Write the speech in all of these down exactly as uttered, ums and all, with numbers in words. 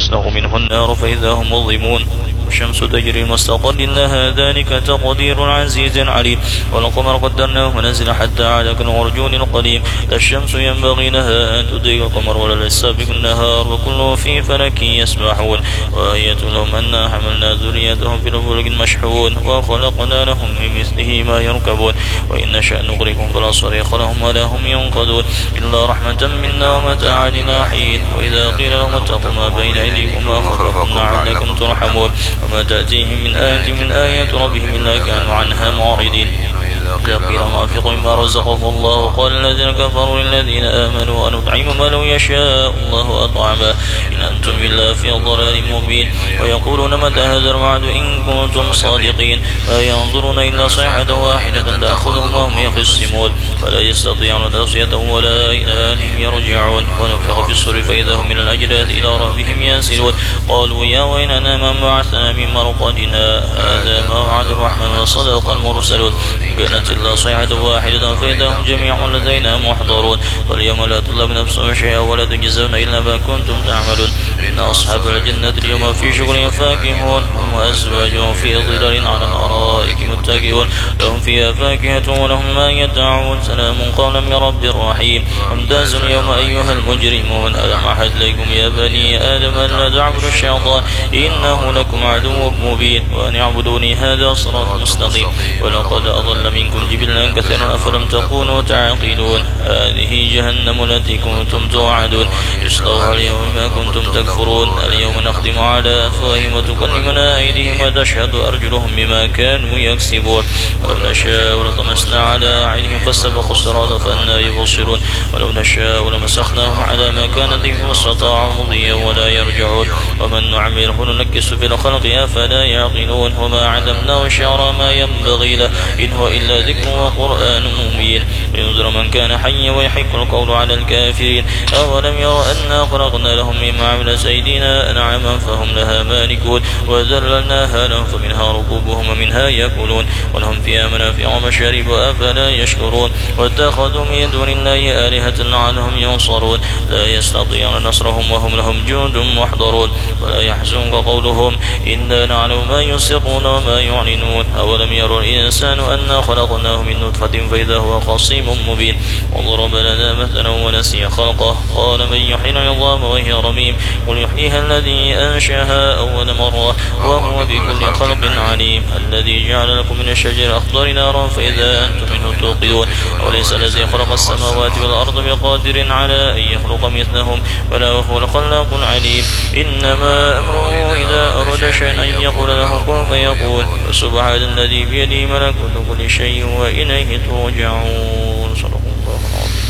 تزاق منه النار فإذا هم مظلمون. والشمس تجري لمستقر لها ذلك تقدير العزيز العليم. والقمر قدرناه منازل حتى عاد كالعرجون القديم. لا الشمس ينبغي لها أن تدرك القمر ولا الليل سابق النهار وكل في فلك يسبحون. وآية لهم أنا حملنا ذريتهم في الفلك المشحون وخلقنا لهم من مثله ما يركبون. وإن نشأ نغرقهم فلا صريخ لهم ولا هم ينقذون. إلا رحمة منا ومتاعا إلى حين. وإذا قيل لهم اتقوا ما بين أيديكم وما خلفكم لعلكم ترحمون. وما تأتيهم من آية من آيات ربهم إلا كانوا عنها معرضين. وإذا قيل لهم أنفقوا مما رزقكم الله قال الذين كفروا للذين آمنوا أنطعم من لو يشاء الله أطعمه إن أنتم إلا في ضلال مبين. ويقولون متى هذا الوعد إن كنتم صادقين. ما ينظرون إلا صيحة واحدة تأخذهم وهم يخصمون. فلا يستطيعون توصية ولا إلى أهلهم يرجعون. ونفخ في الصور فإذا هم من الأجداث إلى ربهم ينسلون. قالوا يا ويلنا من بعثنا من مرقدنا هذا ما وعد الرحمن وصدق المرسلون. إن كانت إلا صيحة واحدة فإذا هم جميع لدينا محضرون. فاليوم لا تظلم نفس شيئا ولا تجزون إلا ما كنتم تعملون. إن أصحاب الجنة اليوم في شغل فاكهون. هم وأزواجهم في ظلال على الأرائك متكئون. لهم فيها فاكهة ولهم ما يدعون. سلام قولا من رب رحيم. وامتازوا اليوم أيها المجرمون. ألم أعهد إليكم يا بني آدم ألا تعبدوا الشيطان إنه لكم عدو مبين وأن اعبدوني هذا صراط مستقيم. ولقد أضل منكم جبلا كثيرا أفلم تكونوا تعقلون. هذه جهنم التي كنتم توعدون. اصلوها اليوم بما كنتم تكفرون. اليوم نختم على أفواههم وتكلمنا أيديهم وتشهد أرجلهم بما كانوا يكسبون. ولو نشاء لطمسنا على أعينهم فاستبقوا الصراط فأنى يبصرون. ولو نشاء لمسخناهم على مكانتهم فما استطاعوا مضيا ولا يرجعون. ومن نعمره ننكسه في الخلق أفلا يعقلون. وما علمناه الشعر ما ينبغي له إن هو إلا ذكر وقرآن مبين. لينذر من كان حيا ويحق القول على الكافرين. أولم يروا أنا خلقنا لهم مما عملت أيدينا أنعاما فهم لها مالكون. وذللناها لهم فمنها ركوبهم ومنها يأكلون. ولهم فيها منافع ومشارب أفلا يشكرون. واتخذوا من دون الله آلهة لعلهم ينصرون. لا يستطيعون نصرهم وهم لهم جند محضرون. ولا يحزنك قولهم إنا نعلم ما يسرون وما يعلنون. أولم يروا الإنسان أنا خلقناه من نطفة فإذا هو خصيم مبين. وضرب لنا مثلا ونسي خلقه قال من يحيي العظام وهي رميم. قل يحييها الذي أنشأها أول مرة وهو بكل خلق عليم. الذي جعل لكم من الشجر الأخضر نارا فإذا أنتم منه توقدون. أوليس الذي خلق السماوات والأرض بقادر على أن يخلق مثلهم بلى وهو الخلاق العليم. إنما أمره إذا أراد شيئا أن يقول له كن فيكون. فسبحان الذي بيده ملكوت كل شيء وإليه ترجعون. صدق الله العظيم.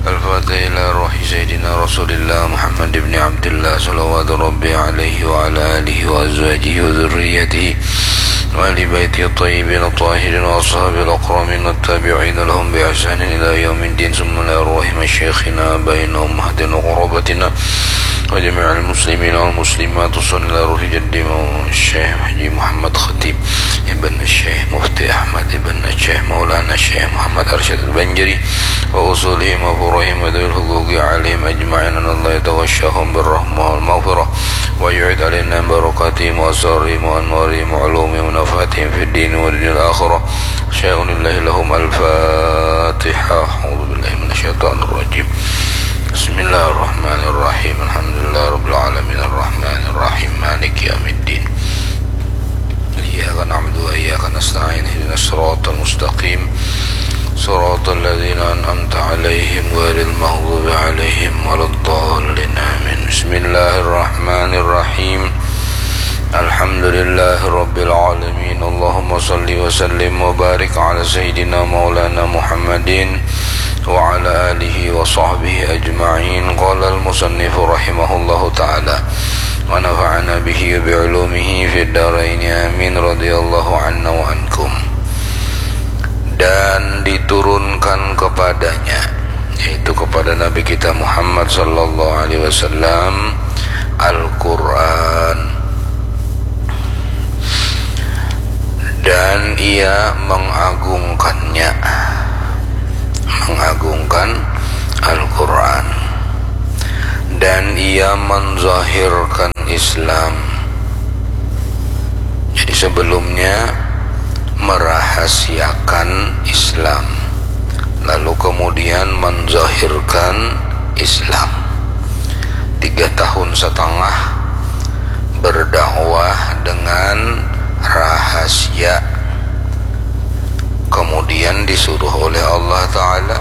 الفاتحة إلى روح سيدنا رسول الله محمد بن عبد الله صلوات ربي عليه وعلى آله وأزواجه وذريته وأهل بيته الطيبين الطاهرين وأصحابه الأكرمين والتابعين لهم بإحسان إلى يوم الدين، ثم إلى أرواح مشايخنا آبائنا وأمهاتنا وقرابتنا وجميع المسلمين والمسلمات، خصوصا إلى روح جدي الشيخ حاجي محمد خطيب ابن الشيخ مفتي أحمد ابن الشيخ مولانا الشيخ محمد أرشد البنجري وأصولهم وفروعهم وذوي الحقوق عليهم أجمعين، أن الله يتغشاهم بالرحمة والمغفرة ويعيد علينا بركاتهم وأسرارهم وأنوارهم وعلومهم ونفحاتهم في الدين والدنيا الآخرة. شيء لله لهم. الفاتحة. أعوذ بالله من الشيطان الرجيم. بسم الله الرحمن الرحيم. الحمد لله رب العالمين. الرحمن الرحيم. مالك يوم الدين. إياك نعبد وإياك نستعين. اهدنا الصراط المستقيم. صراط الذين أنعمت عليهم غير المغضوب عليهم ولا الضالين. آمين. بسم الله الرحمن الرحيم. الحمد لله رب العالمين. اللهم صل وسلم وبارك على سيدنا مولانا محمد وعلى آله وصحبه أجمعين. قال المصنف رحمه الله تعالى: ونفعنا به وبعلومه في الدارين آمين. رضي الله عنا وعنكم. Dan diturunkan kepadanya, yaitu kepada Nabi kita Muhammad sallallahu alaihi wasallam, Al-Quran, dan ia mengagungkannya, mengagungkan Al-Quran, dan ia menzahirkan Islam. Jadi sebelumnya merahasiakan Islam, lalu kemudian menzahirkan Islam. Tiga tahun setengah berdakwah dengan rahasia, kemudian disuruh oleh Allah Ta'ala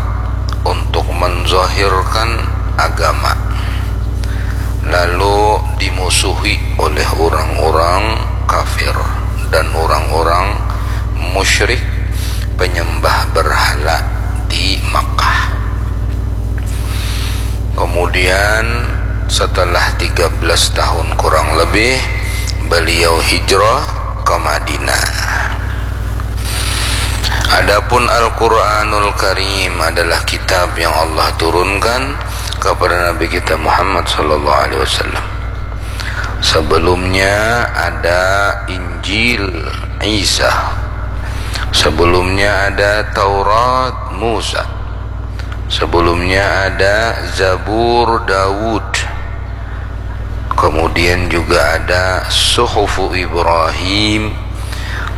untuk menzahirkan agama, lalu dimusuhi oleh orang-orang kafir dan orang-orang musyrik penyembah berhala di Makkah. Kemudian setelah tiga belas tahun kurang lebih, beliau hijrah ke Madinah. Adapun Al-Quranul Karim adalah kitab yang Allah turunkan kepada Nabi kita Muhammad sallallahu alaihi wasallam. Sebelumnya ada Injil Isa. Sebelumnya ada Taurat Musa. Sebelumnya ada Zabur Daud. Kemudian juga ada Suhufu Ibrahim.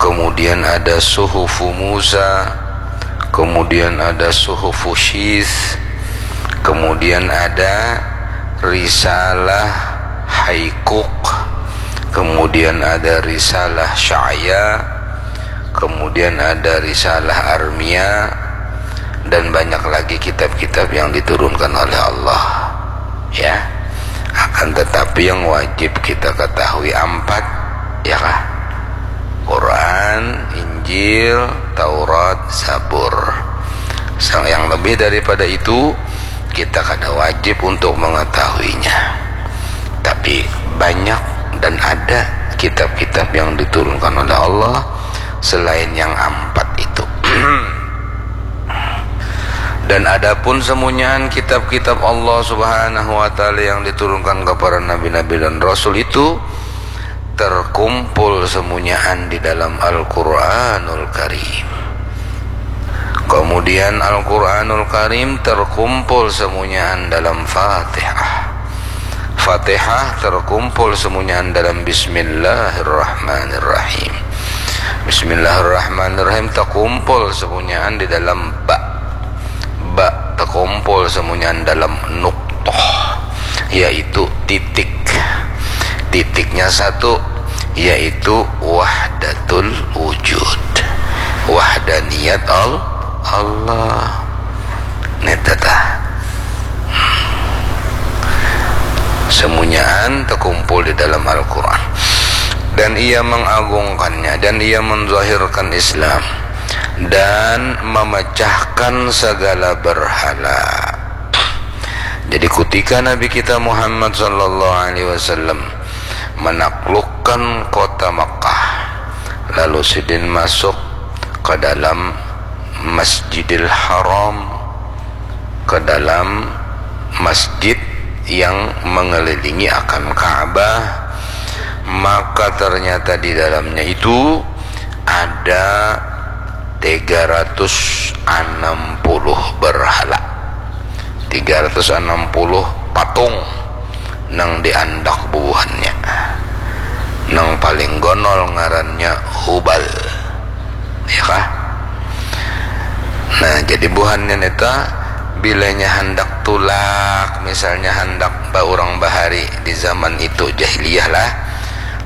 Kemudian ada Suhufu Musa. Kemudian ada Suhufu Syis. Kemudian ada Risalah Haikuk. Kemudian ada Risalah Sya'ya. Kemudian ada Risalah Armia. Dan banyak lagi kitab-kitab yang diturunkan oleh Allah. Ya. Akan tetapi yang wajib kita ketahui empat, ya kah? Quran, Injil, Taurat, Zabur. Sang-, yang lebih daripada itu, kita kada wajib untuk mengetahuinya. Tapi banyak dan ada kitab-kitab yang diturunkan oleh Allah selain yang empat itu. Dan adapun semunyaan kitab-kitab Allah Subhanahu wa Ta'ala yang diturunkan kepada nabi-nabi dan rasul itu terkumpul semunyaan di dalam Al-Quranul Karim. Kemudian Al-Quranul Karim terkumpul semunyaan dalam Fatihah. Fatihah terkumpul semunyaan dalam Bismillahirrahmanirrahim. Bismillahirrahmanirrahim terkumpul semunyaan di dalam ba. Ba terkumpul semunyaan dalam nuktoh, yaitu titik. Titiknya satu, yaitu wahdatul wujud. Wahdaniyat Al-, Allah. Neta tah. Semunyaan terkumpul di dalam Al-Quran. Dan ia mengagungkannya, dan ia menzahirkan Islam, dan memecahkan segala berhala. Jadi, kutika Nabi kita Muhammad sallallahu alaihi wasallam menaklukkan kota Makkah, lalu sidin masuk ke dalam Masjidil Haram, ke dalam masjid yang mengelilingi akan Ka'bah, maka ternyata di dalamnya itu ada tiga ratus enam puluh berhala. Tiga ratus enam puluh patung nang diandak bubuhannya. Nang paling gonol ngarannya Hubal. Ya kah? Nah, jadi buhannya neta bilanya handak tulak, misalnya handak ba urang bahari di zaman itu, jahiliyah lah.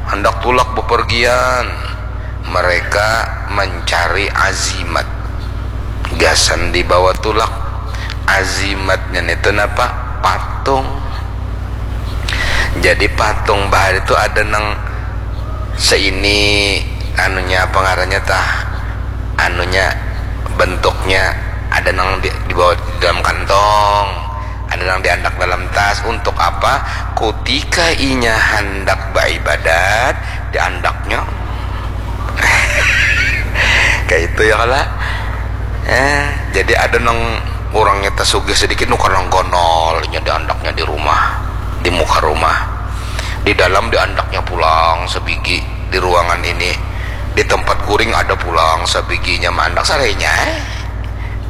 Handak tulak bepergian, mereka mencari azimat. Gasan dibawa tulak. Azimatnya itu napa? Patung. Jadi patung bahari itu ada nang seini, anunya, apa ngarannya tah? Anunya, bentuknya ada nang di, dibawa di dalam kantong, ada nang diandak dalam tas. Untuk apa? Kutika inya handak beribadat, diandaknya. Kayak itu ya kala. Eh, jadi ada nang urangnya tasugih sedikit, nukar nang gonol, inya diandaknya di rumah, di muka rumah. Di dalam diandaknya pulang sebigi, di ruangan ini, di tempat kuring ada pulang sebiginya maandak sarainya. Eh.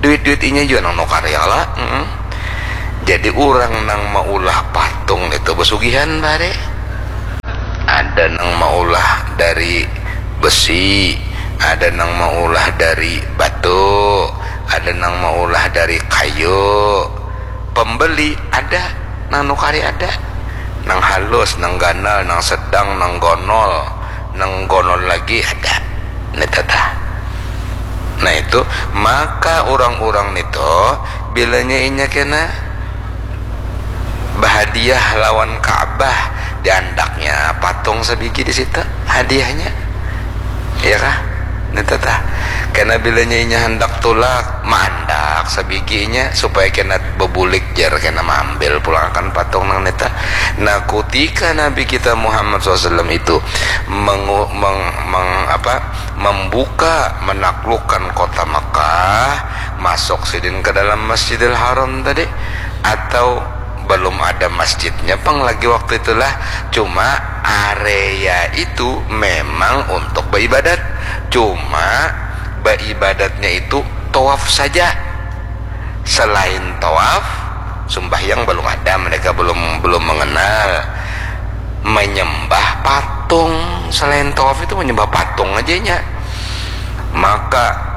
Duit-duit inya jua nang nukar ya kala. Mm-mm. Jadi urang nang maulah patung itu besugihan bare. Ada nang maulah dari besi, ada nang maulah dari batu, ada nang maulah dari kayu. Pembeli ada, nang nukari ada. Nang halus, nang ganal, nang sedang, nang gonol, nang gonol lagi ada. Nita tah. Nah itu, maka urang-urang nito bilanya inya kena bahadiah lawan Ka'bah, diandaknya patung sabigi di situ hadiahnya, ya kah? Nita tah. Kena bilanya inya handak tulak, maandak sabiginya supaya kena bebulik jar, kena maambil pulang akan patung nang nita. Nah, kutika Nabi kita Muhammad sallallahu alaihi wasallam itu mengu- meng- meng- apa, membuka, menaklukkan kota Mekah, masuk sidin ke dalam Masjidil Haram tadi, atau belum ada masjidnya pang lagi waktu itulah, cuma area itu memang untuk beribadat, cuma beribadatnya itu tawaf saja. Selain tawaf, sumbahyang belum ada, mereka belum belum mengenal. Menyembah patung, selain tawaf itu menyembah patung aja nya. Maka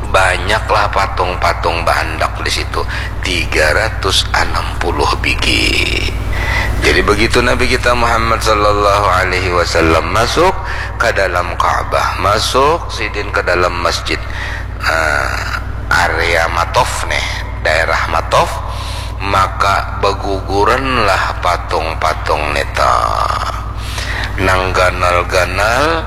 banyaklah patung-patung baandak di situ, tiga ratus enam puluh bigi. Jadi begitu Nabi kita Muhammad sallallahu alaihi wasallam masuk ke dalam Ka'bah, masuk sidin ke dalam masjid, eh, area Matof nih, daerah Matof, maka beguguranlah patung-patung nita. Nang ganal-ganal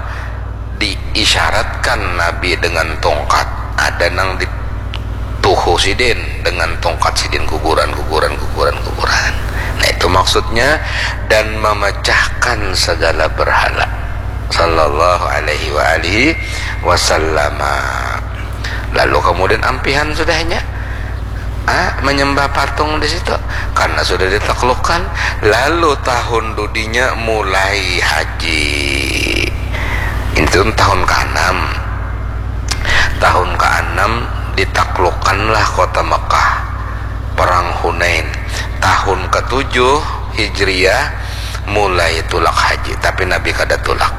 diisyaratkan Nabi dengan tongkat, ada nang dituhu sidin dengan tongkat sidin, guguran, guguran, guguran, guguran. Nah, itu maksudnya, dan memecahkan segala berhala. Sallallahu alaihi wa alihi wasallama. Lalu kemudian ampihan sudahnya, ah, menyembah patung di situ karena sudah ditaklukkan. Lalu tahun dudinya mulai haji. Itu tahun keenam. Tahun keenam ditaklukkanlah kota Mekah. Perang Hunain. Tahun ketujuh Hijriah mulai tulak haji, tapi Nabi kada tulak.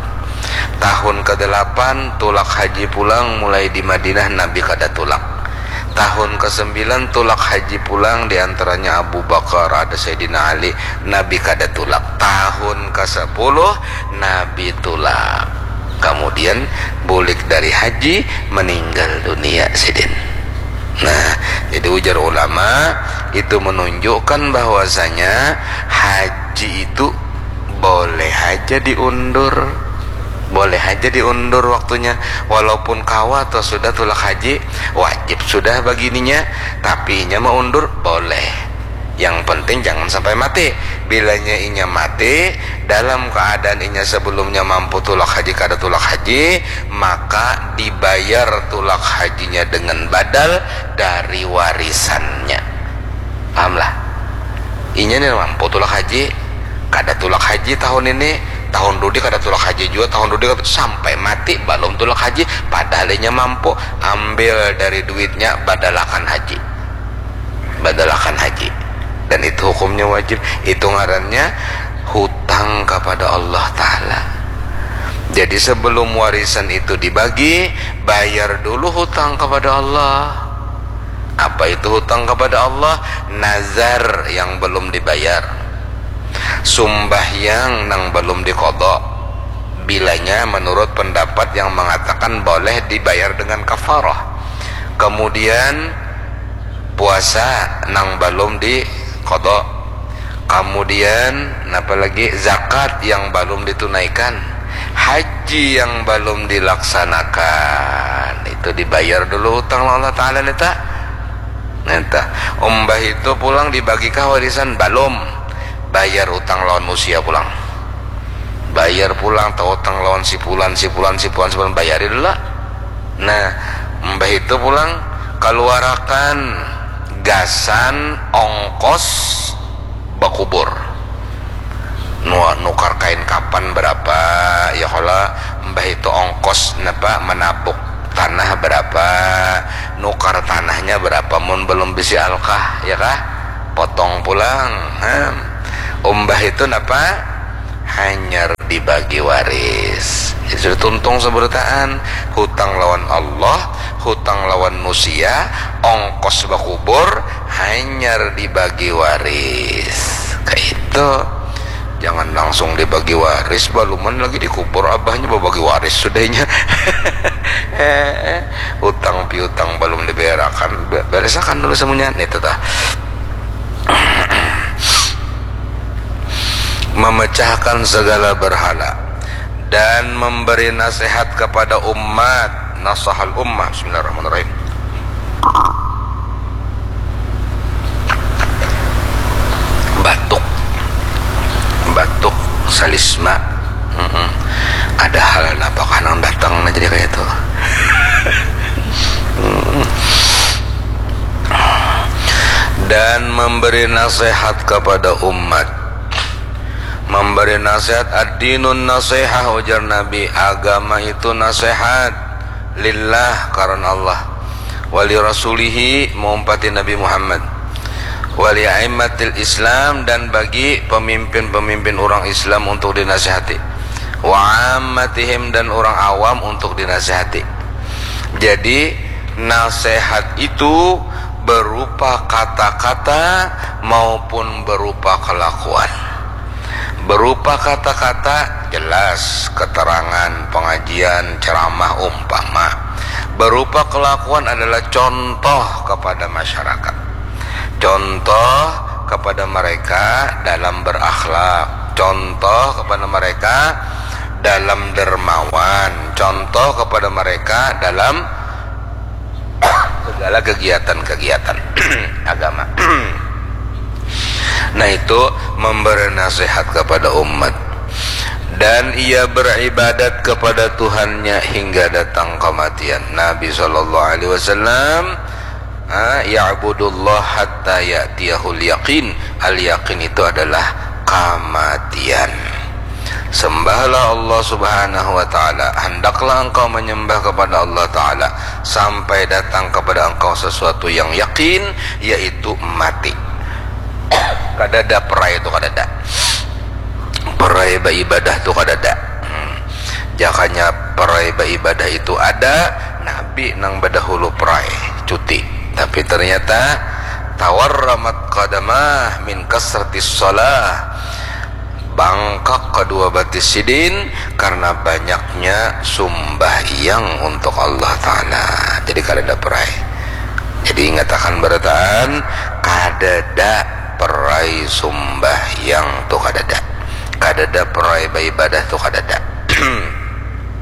Tahun kedelapan tulak haji pulang, mulai di Madinah Nabi kada tulak. Tahun kesembilan tulak haji pulang, di antaranya Abu Bakar, ada Sayyidina Ali, Nabi kada tulak. Tahun kesepuluh Nabi tulak. Kemudian bulik dari haji, meninggal dunia sidin. Nah, jadi ujar ulama, itu menunjukkan bahwasanya haji itu boleh aja diundur. Boleh aja diundur waktunya. Walaupun kawa atau sudah tulak haji, wajib sudah bagininya, tapi inya maundur boleh. Yang penting jangan sampai mati. Bilanya inya mati dalam keadaan inya sebelumnya mampu tulak haji, kada tulak haji, maka dibayar tulak hajinya dengan badal dari warisannya. Pahamlah? Inya ni mampu tulak haji, kada tulak haji tahun ini, tahun dudi kada tulak haji jua, tahun dudi kada, sampai mati balum tulak haji, padahal inya mampu, ambil dari duitnya, badalakan haji. Badalakan haji. Dan itu hukumnya wajib. Itu ngarannya hutang kepada Allah Ta'ala. Jadi sebelum warisan itu dibagi, bayar dulu hutang kepada Allah. Apa itu hutang kepada Allah? Nazar yang belum dibayar, sumbahyang nang belum diqadha. Bilanya menurut pendapat yang mengatakan boleh dibayar dengan kafarah. Kemudian puasa nang belum diqadha. Kemudian napa lagi, zakat yang belum ditunaikan, haji yang belum dilaksanakan, itu dibayar dulu utang lawan Allah Ta'ala nita. Nita. Umbah itu pulang dibagikah warisan? Balum. Bayar utang lawan usia pulang. Bayar pulang, tautang lawan si pulan, si pulan, si pulan, si pulan, bayari dulu lah. Nah, umbah itu pulang, kaluarakan gasan ongkos bakubur. Nu- nukar kain kapan berapa, ya kala, umbah itu ongkos napa, menabuk tanah berapa, nukar tanahnya berapa, mun belum bisi alkah, ya kah? Potong pulang. Nah, umbah itu napa, hanyar dibagi waris. Jadi sudah tuntung seberataan, hutang lawan Allah, hutang lawan nusia, ongkos bakubur, hanyar dibagi waris. Kayak itu. Jangan langsung dibagi waris, baluman lagi dikubur abahnya, babagi waris sudahnya. Eh, utang piutang balum dibayarakan, be-, beresakan dulu semuanya, itu tah. Memecahkan segala berhala dan memberi nasihat kepada umat. Nasahal ummah. Bismillahirrahmanirrahim. Batuk, batuk, salisma. Mm-mm. Ada hal napakah nang datang nah jadi kayak itu. Mm. Dan memberi nasihat kepada umat. Memberi nasihat, ad-dinun nasihah, ujar Nabi, agama itu nasihat, lillah, karena Allah, wali rasulihi, maumpati Nabi Muhammad, wali aimmatil Islam, dan bagi pemimpin-pemimpin orang Islam untuk dinasihati, wa ammatihim, dan orang awam untuk dinasihati. Jadi, nasihat itu berupa kata-kata maupun berupa kelakuan. Berupa kata-kata, jelas, keterangan, pengajian, ceramah, umpama. Berupa kelakuan adalah contoh kepada masyarakat. Contoh kepada mereka dalam berakhlak, contoh kepada mereka dalam dermawan, contoh kepada mereka dalam segala kegiatan-kegiatan agama. Nah, itu memberi nasihat kepada umat. Dan ia beribadat kepada Tuhannya hingga datang kematian. Nabi sallallahu alaihi wasallam, ah, ya'budullah hatta ya'tiyahul yaqin. Al-yaqin itu adalah kematian. Sembahlah Allah Subhanahu wa Ta'ala. Hendaklah engkau menyembah kepada Allah Ta'ala sampai datang kepada engkau sesuatu yang yakin, yaitu mati. Kadada perai itu, kadada. Perai baibadah tu kadada. Hmm. Jakanya perai baibadah itu ada, Nabi nang badahulu perai, cuti. Tapi ternyata, tawarramat qadamah min kasratis shalah. Bangkak kedua batis sidin karena banyaknya sumbahyang untuk Allah Ta'ala. Jadi, kadada perai. Jadi, ingatakan barataan, kadada perai sumbahyang tu, kadada. Kadada perai baibadah tu, kadada.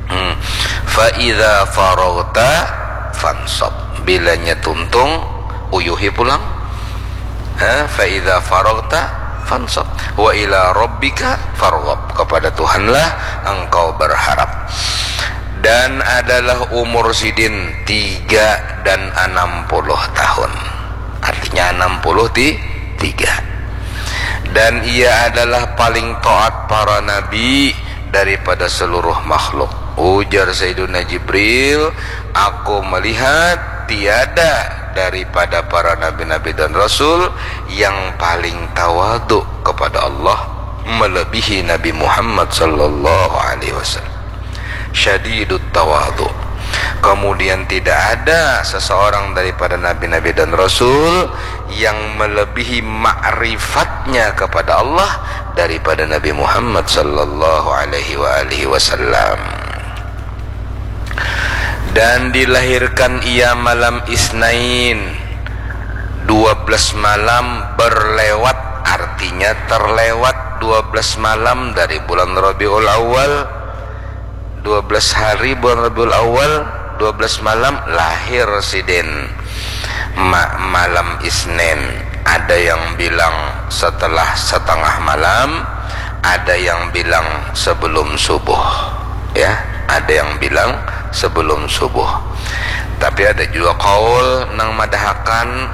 Hmm. Fa idza faraghta fansab. Bilanya tuntung, uyuhi pulang. Ha, fa idza faraghta fansab. Wa ila rabbika farghab. Kepada Tuhanlah engkau berharap. Dan adalah umur sidin tiga dan enam puluh tahun. Artinya enam puluh ti-, tiga. Dan ia adalah paling taat para nabi daripada seluruh makhluk. Ujar Sayyiduna Jibril, "Aku melihat tiada daripada para nabi-nabi dan rasul yang paling tawadu kepada Allah melebihi Nabi Muhammad sallallahu alaihi wasallam." Syadidut tawadu. Kemudian tidak ada seseorang daripada nabi-nabi dan rasul yang melebihi makrifatnya kepada Allah daripada Nabi Muhammad sallallahu alaihi wa alihi wasallam. Dan dilahirkan ia malam Isnin, dua belas malam berlewat, artinya terlewat dua belas malam dari bulan Rabiul Awal. Dua belas hari bulan Rabiul Awal, dua belas malam lahir sidin. Ma-, malam Isnin. Ada yang bilang setelah setengah malam, ada yang bilang sebelum subuh. Ya, ada yang bilang sebelum subuh. Tapi ada juga kaul nang madahakan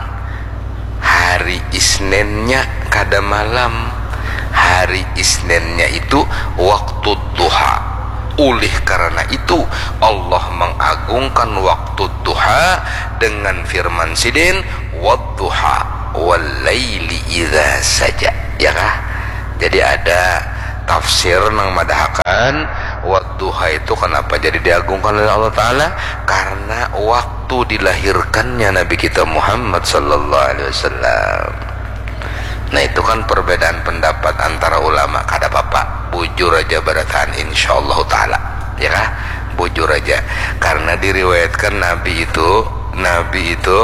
hari Isninnya kada malam. Hari Isninnya itu waktu duha. Oleh karena itu, Allah mengagungkan waktu duha dengan firman sidin, "Wadduha, wal laili idza saja." Ya kah? Jadi ada tafsir nang madahakan wadduha itu kenapa jadi diagungkan oleh Allah Ta'ala? Karena waktu dilahirkannya Nabi kita Muhammad sallallahu alaihi wasallam. Nah, itu kan perbedaan pendapat antara ulama, kada apa-apa, bujur aja barataan, insyaallah ta'ala, ya kah? Bujur aja. Karena diriwayatkan Nabi itu, Nabi itu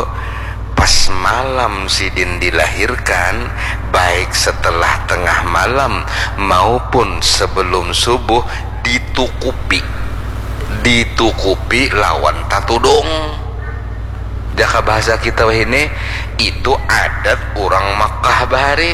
pas malam sidin dilahirkan, baik setelah tengah malam maupun sebelum subuh, ditukupi, ditukupi lawan tatudung. Jaka bahasa kita wahini, itu adat urang Makkah bahari.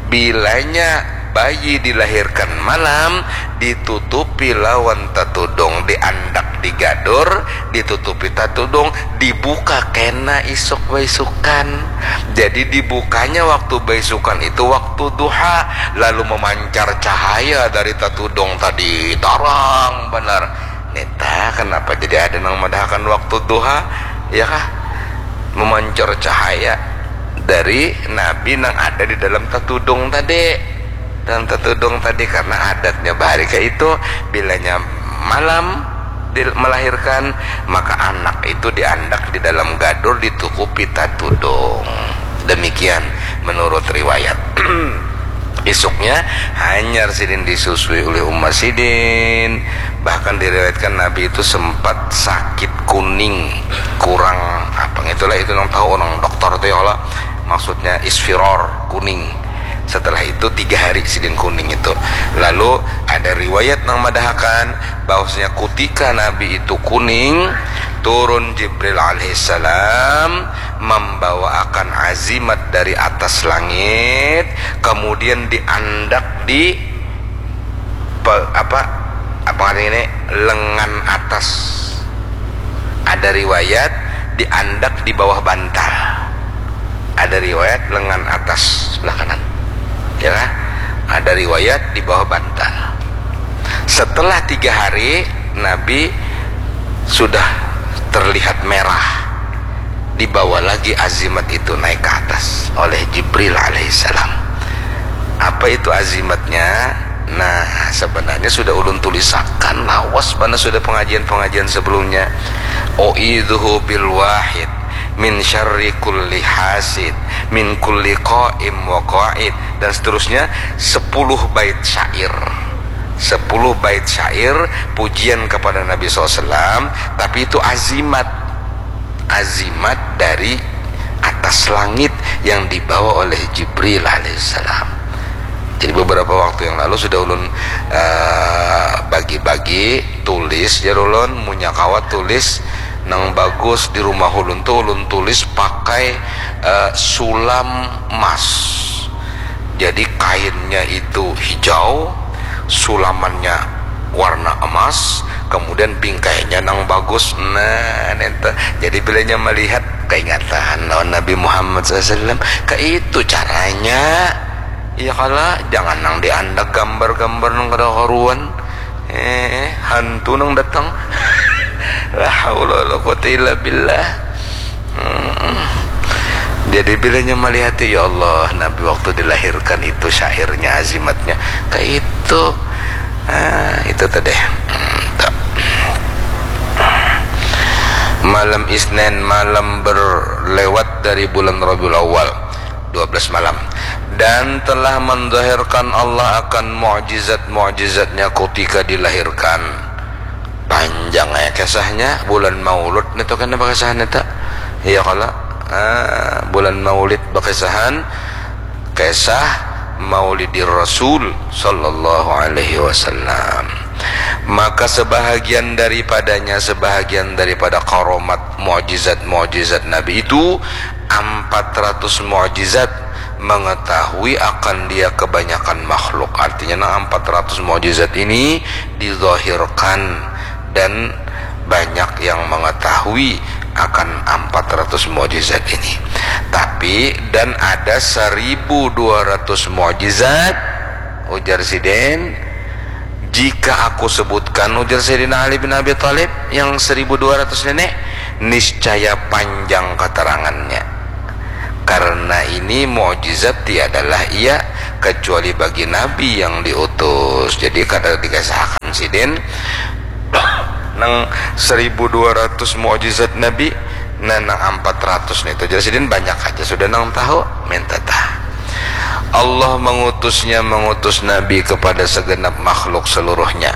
Bilanya bayi dilahirkan malam, ditutupi lawan tatudung, diandak di gadur, ditutupi tatudung, dibuka kena isuk baisukan. Jadi dibukanya waktu baisukan itu waktu duha, lalu memancar cahaya dari tatudung tadi, tarang banar. Neta, kenapa jadi ada nang madahakan waktu duha, ya kah? Memancar cahaya dari Nabi nang ada di dalam tatudung tadi, dalam tatudung tadi, karena adatnya bahari kayak itu, bilanya malam melahirkan, maka anak itu diandak di dalam gadur, ditukupi tatudung. Demikian menurut riwayat. Isuknya hanyar sidin disusui oleh umat sidin. Bahkan diriwayatkan Nabi itu sempat sakit kuning, kurang apa, itulah itu nang tahu orang dokter tuh, ya Allah. Maksudnya isfiror, kuning. Setelah itu tiga hari sidin kuning itu. Lalu ada riwayat nang madahakan bahwasanya kutika Nabi itu kuning, turun Jibril alaihissalam membawakan azimat dari atas langit, kemudian diandak di pe- apa apa ini, lengan atas. Ada riwayat diandak di bawah bantal. Ada riwayat lengan atas sebelah kanan. Ya kan? Ada riwayat di bawah bantal. Setelah tiga hari, Nabi sudah terlihat merah. Dibawa lagi azimat itu naik ke atas oleh Jibril alaihissalam. Apa itu azimatnya? Nah, sebenarnya sudah ulun tulisakan lawas, mana sudah pengajian-pengajian sebelumnya. U'idzuhu bil wahid min syarri kulli hasid, min kulli qaim wa qaid, dan seterusnya, sepuluh bait syair. Sepuluh bait syair pujian kepada Nabi sallallahu alaihi wasallam, tapi itu azimat. Azimat dari atas langit yang dibawa oleh Jibril alaihissalam. Jadi beberapa waktu yang lalu sudah ulun, eh, bagi-bagi tulis, jar ulun, munya kawa tulis nang bagus di rumah ulun tuh ulun tulis pakai, eh, sulam emas. Jadi kainnya itu hijau, sulamannya warna emas, kemudian bingkainya nang bagus. Nah, nente. Jadi bilanya melihat, keingatan lawan Nabi Muhammad sallallahu alaihi wasallam. Kayak itu caranya. Iya kala, jangan nang diandak gambar-gambar nang kada karuan. Eh, hantu nang datang. La haula wala quwata illa billah. Hmm. Jadi bilanya melihat, ya Allah, Nabi waktu dilahirkan itu syairnya, azimatnya kayak itu. Ah, itu tadi. Hmm, tak. Malam Isnin, malam berlewat dari bulan Rabiul Awal, dua belas malam. Dan telah menzahirkan Allah akan mukjizat-mukjizatnya ketika dilahirkan. Panjang ya kisahnya, bulan Maulud nih tuh kan apa kisahnya tak? Iya kala, ah, bulan Maulid berkisahan, kisah Maulidir Rasul sallallahu alaihi wasallam. Maka sebahagian daripadanya, sebahagian daripada karomat, mukjizat-mukjizat Nabi itu, empat ratus mukjizat mengetahui akan dia kebanyakan makhluk. Artinya, nah, empat ratus mukjizat ini dizahirkan dan banyak yang mengetahui akan empat ratus mukjizat ini. Tapi, dan ada seribu dua ratus mukjizat, ujar sidin, jika aku sebutkan, ujar Sayyidina Ali bin Abi Thalib, yang seribu dua ratus nenek, niscaya panjang keterangannya. Karena ini mukjizat tiadalah ia kecuali bagi nabi yang diutus. Jadi kada dikasahakan sidin nang seribu dua ratus mukjizat nabi, nah nang empat ratus nih tu jar sidin banyak aja sudah nang tahu, minta tah. Allah mengutusnya, mengutus nabi kepada segenap makhluk seluruhnya,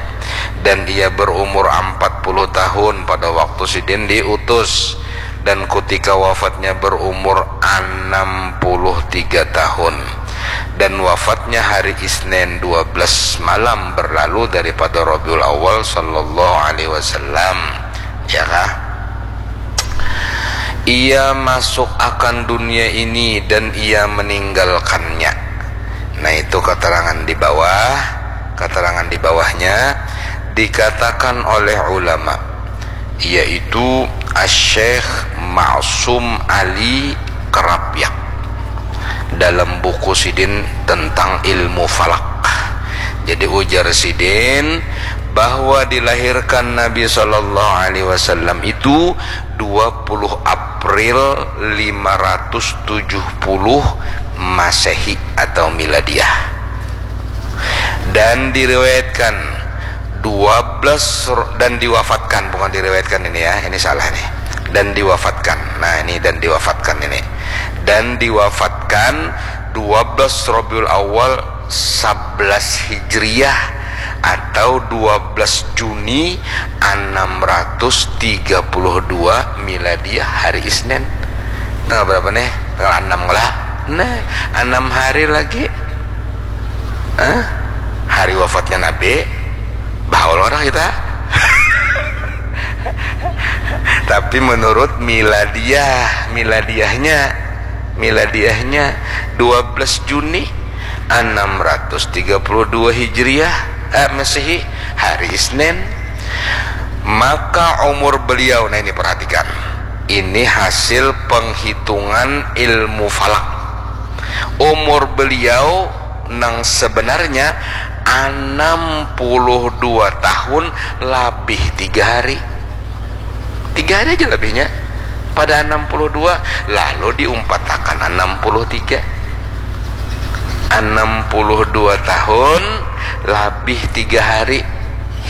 dan ia berumur empat puluh tahun pada waktu sidin diutus, dan kutika wafatnya berumur enam puluh tiga tahun, dan wafatnya hari Isnin dua belas malam berlalu daripada Rabiul Awal sallallahu alaihi wasallam. Ya kah? Ia masuk akan dunia ini dan ia meninggalkannya. Nah, itu keterangan di bawah. Keterangan di bawahnya dikatakan oleh ulama, yaitu Asy-Syeikh Ma'sum Ali Kerapyak dalam buku sidin tentang ilmu falak. Jadi ujar sidin bahwa dilahirkan Nabi sallallahu alaihi wasallam itu dua puluh April lima ratus tujuh puluh Masehi atau Miladiah. Dan diriwayatkan dua belas ro-, dan diwafatkan, bukan diriwayatkan ini ya, ini salah nih. Dan diwafatkan. Nah, ini dan diwafatkan ini. Dan diwafatkan dua belas Rabiul Awal sebelas Hijriah atau dua belas Juni enam ratus tiga puluh dua Miladiah hari Isnin. Tanggal berapa nih? Tanggal enam lah. Nah, enam hari lagi. Hah? Hari wafatnya Nabi, bahaul orang kita. Tapi menurut miladiah, miladiahnya, miladiahnya dua belas Juni enam ratus tiga puluh dua Hijriah, eh, Masehi, hari Isnin. Maka umur beliau, nah ini perhatikan, ini hasil penghitungan ilmu falak. Umur beliau nang sebenarnya enam puluh dua tahun labih tiga hari. Tiga hari aja lebihnya pada enam puluh dua, lalu diumpatakan enam puluh tiga. Enam puluh dua tahun labih tiga hari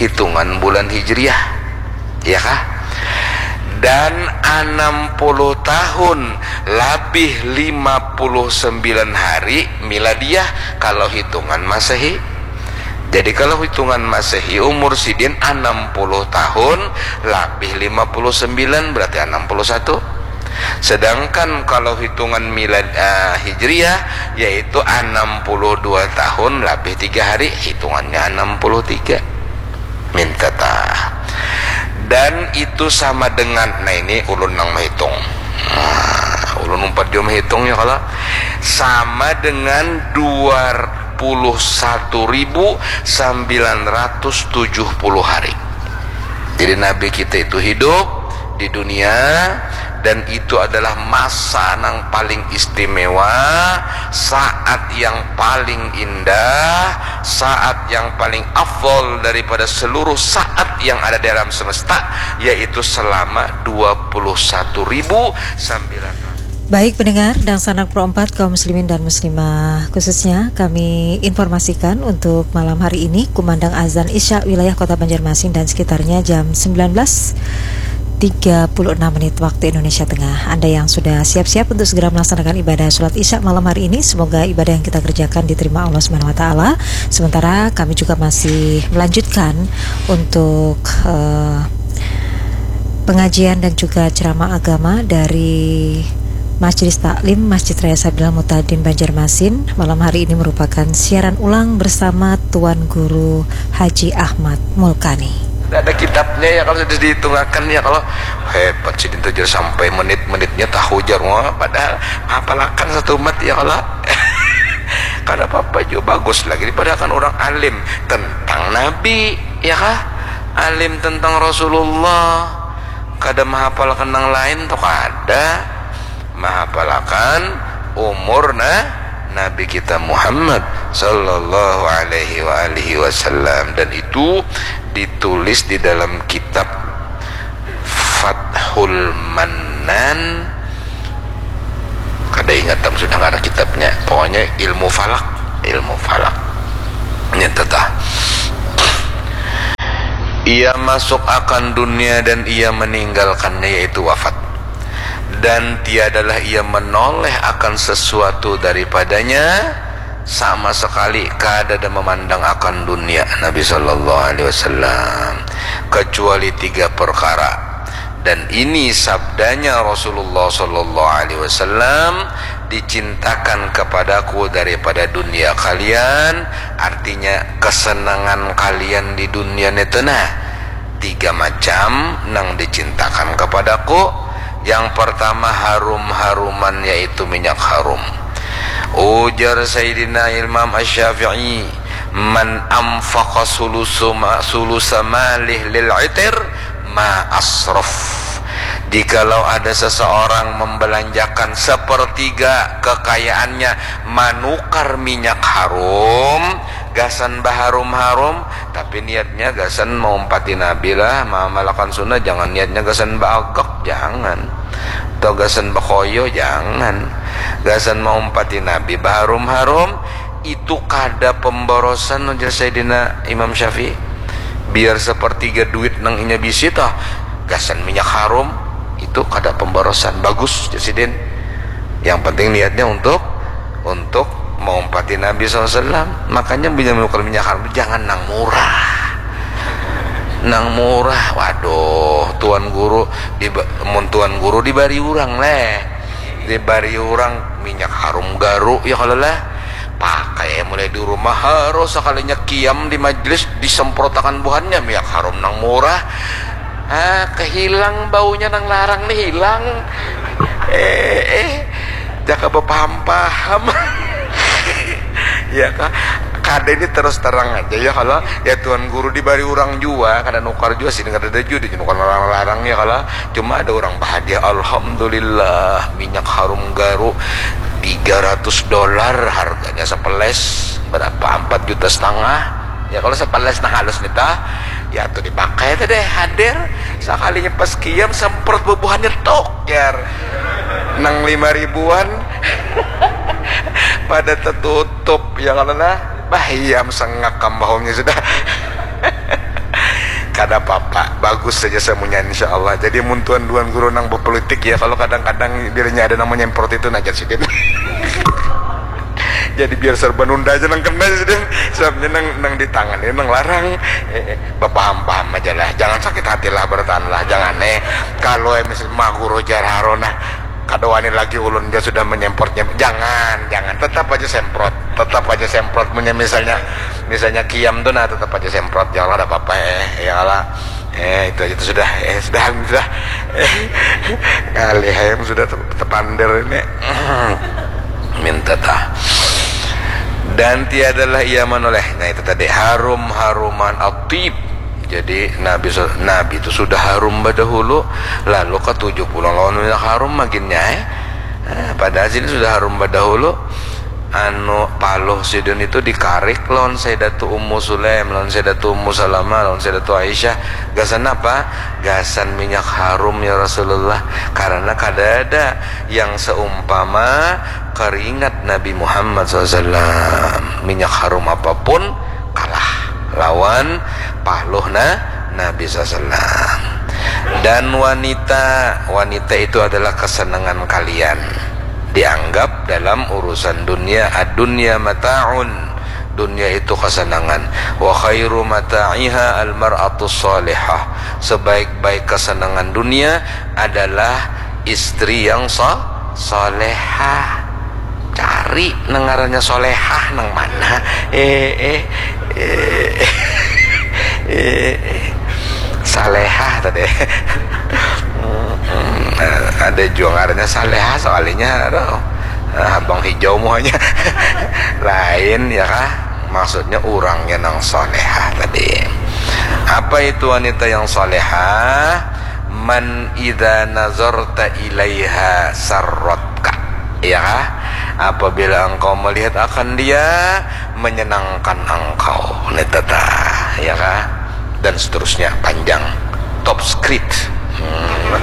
hitungan bulan Hijriah. Ya kah? Dan enam puluh tahun labih lima puluh sembilan hari miladiah kalau hitungan Masehi. Jadi kalau hitungan Masehi umur sidin enam puluh tahun labih lima puluh sembilan, berarti enam puluh satu. Sedangkan kalau hitungan milad, eh, Hijriah yaitu enam puluh dua tahun labih tiga hari, hitungannya enam puluh tiga. Minta tah. Dan itu sama dengan, nah ini ulun nang menghitung. Nah, ulun umpat jua menghitung ya kalau sama dengan dua puluh satu ribu sembilan ratus tujuh puluh hari. Jadi Nabi kita itu hidup di dunia, dan itu adalah masa nang paling istimewa, saat yang paling indah, saat yang paling afdol daripada seluruh saat yang ada di alam semesta, yaitu selama dua puluh satu ribu sembilan ratus. Baik pendengar dan sanak Pro empat, kaum muslimin dan muslimah khususnya, kami informasikan untuk malam hari ini kumandang azan Isya wilayah Kota Banjarmasin dan sekitarnya jam sembilan belas tiga puluh enam menit waktu Indonesia Tengah. Anda yang sudah siap-siap untuk segera melaksanakan ibadah sholat Isya malam hari ini, semoga ibadah yang kita kerjakan diterima Allah Subhanahu wa Ta'ala. Sementara kami juga masih melanjutkan untuk eh, pengajian dan juga ceramah agama dari Majelis Taklim Masjid Raya Sabilal Mutadin Banjarmasin. Malam hari ini merupakan siaran ulang bersama Tuan Guru Haji Ahmad Mulkani. Ada kitabnya ya, kalau sudah dihitungakan ya, kalau hebat sih, dintu jar sampai menit-menitnya tahu jar, wah, padahal hafalakan satu mat ya kalau. Kada apa-apa juga, bagus lagi dipadahakan urang alim tentang Nabi, ya kah? Alim tentang Rasulullah. Kada mahapalkan nang lain tu kada. Mahapalakan umur na Nabi kita Muhammad sallallahu alaihi wa alihi wasallam, dan itu ditulis di dalam kitab Fathul Mannan. Kada ingat am sudah ngaran kitabnya. Pokoknya ilmu falak, ilmu falak. Ini tetah. Ia masuk akan dunia dan ia meninggalkannya, yaitu wafat. Dan tiadalah ia menoleh akan sesuatu daripadanya, sama sekali kada ada memandang akan dunia Nabi sallallahu alaihi wasallam, kecuali tiga perkara. Dan ini sabdanya Rasulullah sallallahu alaihi wasallam, "Dicintakan kepadaku daripada dunia kalian," artinya kesenangan kalian di dunia itu nah, tiga macam nang dicintakan kepadaku. Yang pertama harum-haruman, yaitu minyak harum. Ujar Sayyidina Imam Asy-Syafi'i, "Man anfaqa sulusu ma-, sulusa malih lil itir ma asrof." Jikalau ada seseorang membelanjakan sepertiga kekayaannya manukar minyak harum, gasan baharum-harum, tapi niatnya gasan maumpati Nabi lah, maamalakan sunnah, jangan niatnya gasan baagak, jangan. Atau gasan bakoyo, jangan. Gasan maumpati Nabi baharum-harum, itu kada pemborosan, ujar Sayyidina Imam Syafi'i. Biar sepertiga duit nang inya bisi toh, gasan minyak harum, itu kada pemborosan. Bagus, ujar sidin. Yang penting niatnya untuk, untuk maumpati Nabi sallallahu alaihi wasallam. Makanya bila menukar minyak harum, jangan nang murah. Nang murah, waduh, tuan guru di, mun tuan guru dibari urang leh, dibari urang minyak harum garu, ya kalau lah, pakai mulai di rumah, harus sekalinya kiam di majlis disemprotakan buhannya minyak harum nang murah. Ah, kehilang baunya nang larang nih, hilang. Eh, eh, jaka bapaham-paham. Ya kah? Kada, ini terus terang aja ya kalau ya tuan guru dibari urang jua, kada nukar jua sini, kada ada jua di nukar larang-larang ya kalau. Cuma ada urang bahadiah, alhamdulillah, minyak harum garu tiga ratus dolar harganya sepeles, berapa, empat juta setengah. Ya kalau sepeles nang halus nih tah, ya tuh dipakai tuh deh, hadir. Sekalinya pas kiam semprot bubuhannya tok, jar. Nang lima ribuan pada tertutup ya kalau lah. Bah, iya, sengak kambahumnya sudah. Kada apa-apa, bagus saja semuanya, insya Allah. Jadi mun tuan-tuan guru nang berpolitik ya, kalau kadang-kadang dirinya ada namanya import itu, nah, sidin. Jadi biar serba nunda aja nang kena, sidin. Sebabnya nang, nang di tangan ini nang larang. Eh, eh, bapaham-paham aja lah, jangan sakit hati lah, bertahan lah, jangan eh. Kalau eh, misal ma guru jar haro nah, kada wani lagi ulun ja sudah menyemprotnya. Jangan, jangan. Tetap aja semprot. Tetap aja semprot. Punya misalnya, misalnya kiam tuh nah, tetap aja semprot. Ya Allah, ada apa-apa eh. Ya Allah. Eh, itu aja tuh sudah. Eh, sudah, sudah. Ngalih ayam sudah te-, tepander ini. Minta tah. Dan tiadalah ia menoleh. Nah, itu tadi harum-haruman atib. Jadi Nabi, Nabi itu sudah harum badahulu, lalu katuju pulang lawan minyak harum maginnya eh. Nah, padahal sini sudah harum badahulu. Anu, paluh sidin itu dikarik lawan Sayyidatu Ummu Sulaim, lawan Sayyidatu Ummu Salamah, lawan Sayyidatu Aisyah. Gasan apa? Gasan minyak harum ya Rasulullah. Karena kada ada yang seumpama keringat Nabi Muhammad sallallahu alaihi wasallam. Minyak harum apapun kalah lawan paluhna Nabi sallallahu alaihi wasallam. Dan wanita, wanita itu adalah kesenangan kalian. Dianggap dalam urusan dunia, ad-dunya mata'un. Dunia itu kesenangan. Wa khairu mata'iha al-mar'atus salihah. Sebaik-baik kesenangan dunia adalah istri yang sa-, salehah. Cari nang ngarannya solehah nang mana? Eh, eh, eh, eh, eh. Salehah tadi. Mm, ada jua ngarannya salehah soalnya, aduh. Ah, habang hijau muhanya. Lain ya kah? Maksudnya urangnya nang solehah tadi. Apa itu wanita yang solehah? Man idza nazarta ilaiha sarratka. Ya kah? Apabila engkau melihat akan dia, menyenangkan engkau. Ini tata, ya kah? Dan seterusnya, panjang. Top script. Hmm.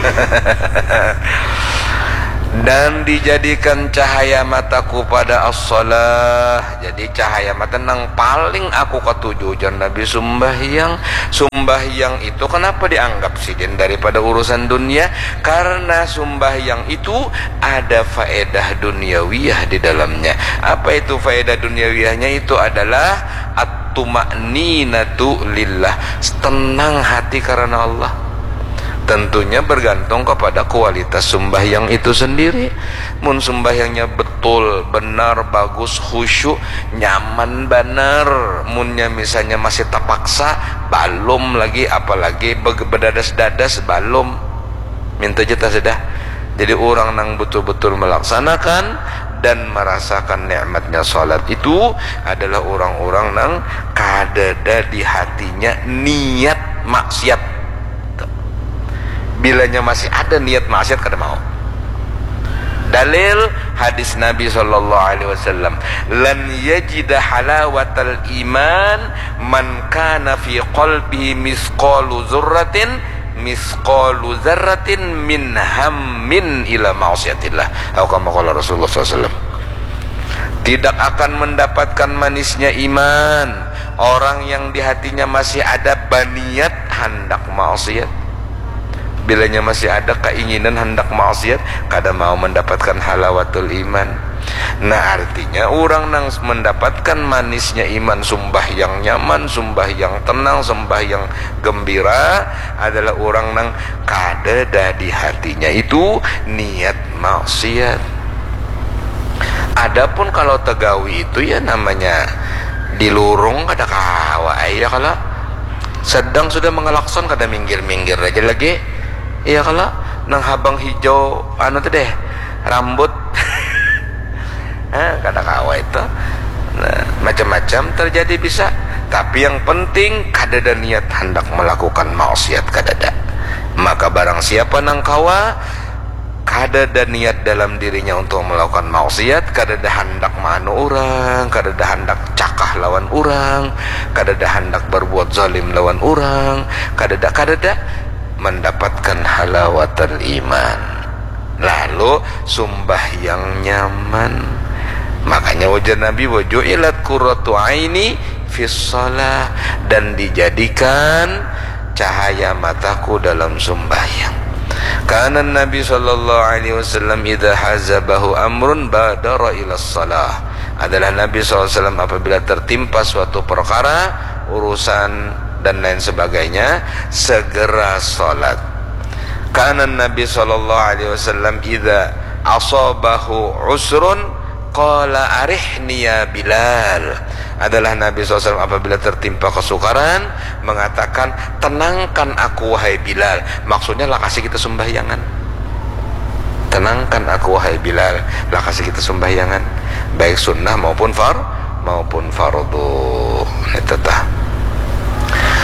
Dan dijadikan cahaya mataku pada as-shalah. Jadi cahaya mata nang paling aku katuju, jar Nabi, sumbahyang. Sumbahyang itu kenapa dianggap sidin daripada urusan dunia? Karena sumbahyang itu ada faedah duniawiyah di dalamnya. Apa itu faedah duniawiyahnya? Itu adalah at-tuma'ninatu lillah, tenang hati karena Allah. Tentunya bergantung kepada kualitas sumbahyang itu sendiri. Mun sumbahyangnya betul, benar, bagus, khusyuk, nyaman banar. Munnya misalnya masih terpaksa, balum lagi, apalagi be-, bedadas-dadas, balum. Minta jatah sudah. Jadi orang nang betul-betul melaksanakan dan merasakan nikmatnya salat itu adalah orang-orang nang kadada di hatinya niat maksiat. Bilanya masih ada niat maksiat, kada mau. Dalil hadis Nabi sallallahu alaihi wasallam, "Lan yajida halawatal iman man kana fi qalbihi misqalu dzarratin, misqalu dzarratin min hammin ila ma'siyatillah." Atau kama qala Rasulullah sallallahu alaihi wasallam. Tidak akan mendapatkan manisnya iman orang yang di hatinya masih ada baniat handak maksiat. Bilanya masih ada keinginan handak maksiat, kada mau mendapatkan halawatul iman. Nah, artinya orang nang mendapatkan manisnya iman, sumbahyang nyaman, sumbahyang tenang, sumbahyang gembira adalah orang nang kadada di hatinya itu niat maksiat. Adapun kalau tegawi itu ya namanya dilurung kada kawa, iya kalo. Sedang sudah mengelakson kada minggir-minggir aja lagi. Iya kalo, nang habang hijau anu tuh deh, rambut. Eh, kada kawa itu. Nah, macam-macam terjadi bisa. Tapi yang penting kadada niat hendak melakukan maksiat, kadada. Maka barang siapa nang kawa kadada niat dalam dirinya untuk melakukan maksiat, kadada handak maanu orang, kadada handak cakah lawan orang, kadada handak berbuat zalim lawan orang, kadada, kadada mendapatkan halawatul iman. Lalu sumbahyang nyaman. Makanya ujar Nabi, "Wa ju'ilat qurratu aini fis shalah," dan dijadikan cahaya mataku dalam sumbahyang. Karena Nabi sallallahu alaihi wasallam idza hazabahu amrun badara ila shalah. Adalah Nabi sallallahu alaihi wasallam apabila tertimpa suatu perkara, urusan dan lain sebagainya, segera salat. Karena Nabi sallallahu alaihi wasallam idza asabahu usrun qala arihni ya Bilal. Adalah Nabi sallallahu alaihi wasallam apabila tertimpa kesukaran mengatakan, "Tenangkan aku wahai Bilal." Maksudnya lakasi kita sembahyangan. "Tenangkan aku wahai Bilal." Lakasi kita sembahyangan, baik sunnah maupun far maupun fardu. Itu tah.